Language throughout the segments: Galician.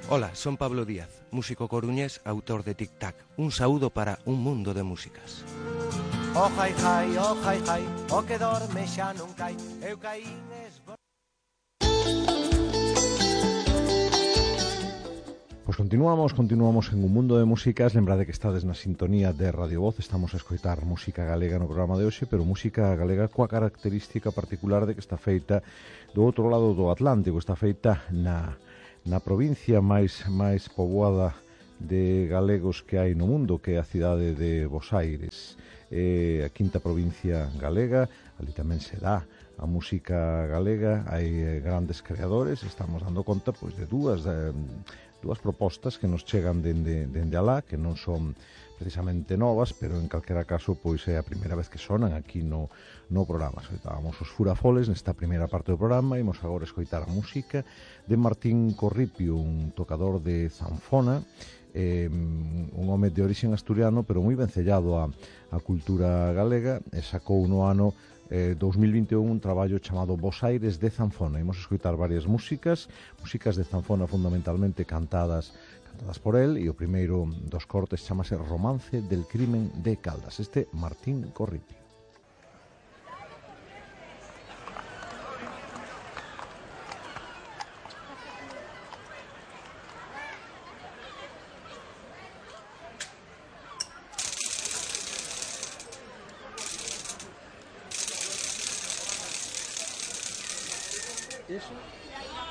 Hola, son Pablo Díaz, músico coruñés, autor de Tic Tac. Un saúdo para un mundo de músicas. Oh, jai, jai, oh, jai, jai, o que dorme xa non cai, eu caín Pois continuamos en un mundo de músicas. Lembrade que estades na sintonía de Radio Voz. Estamos a escoitar música galega no programa de hoxe, pero música galega coa característica particular de que está feita do outro lado do Atlántico. Está feita na provincia máis poboada de galegos que hai no mundo, que é a cidade de Bos Aires. A quinta provincia galega, ali tamén se dá a música galega, hai grandes creadores. Estamos dando conta pois de dúas propostas que nos chegan dende alá, que non son precisamente novas, pero en calquera caso pois é a primeira vez que sonan aquí no programa. Escoitábamos os Furafoles nesta primeira parte do programa. Imos agora escoitar a música de Martín Corripio, un tocador de zanfona, un home de orixen asturiano, pero moi vencellado á cultura galega, e sacou no ano 2021 un traballo chamado Bos Aires de Zanfona. Imos escoitar varias músicas de zanfona fundamentalmente cantadas por el, e o primeiro dos cortes chamase Romance del crimen de Caldas. Este Martín Corripio.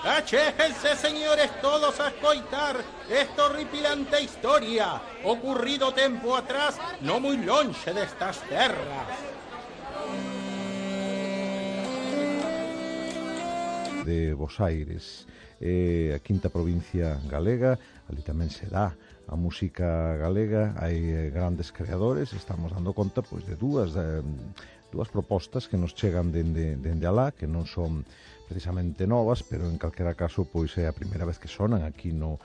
Achéjense, señores, todos a escoitar esta horripilante historia ocurrido tempo atrás, no muy longe destas terras. De Bos Aires, a quinta provincia galega, ali tamén se dá a música galega, hai grandes creadores. Estamos dando conta pois de dúas propostas que nos chegan dende alá, que non son precisamente novas, pero en calquera caso pois é a primeira vez que sonan aquí no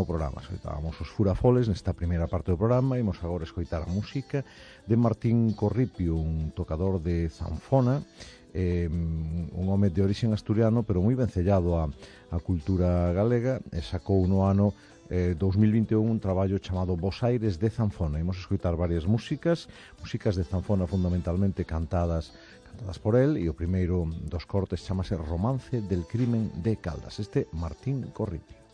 programa. Escoitábamos os Furafoles nesta primeira parte do programa. Imos agora escoitar a música de Martín Corripio, un tocador de zanfona, un home de orixen asturiano, pero moi vencellado á cultura galega, e sacou no ano 2021 un traballo chamado Bos Aires de Zanfona. Imos escoitar varias músicas de zanfona fundamentalmente cantadas por el, e o primeiro dos cortes chamase Romance del crimen de Caldas. Este Martín Corripio.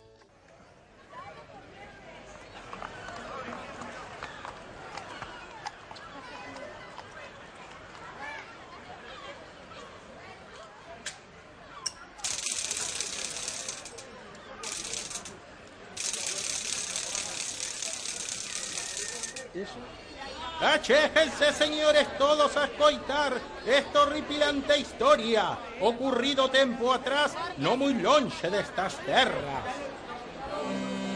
Achéjense, señores, todos a escoitar esta horripilante historia ocurrido tempo atrás, no muy longe destas terras.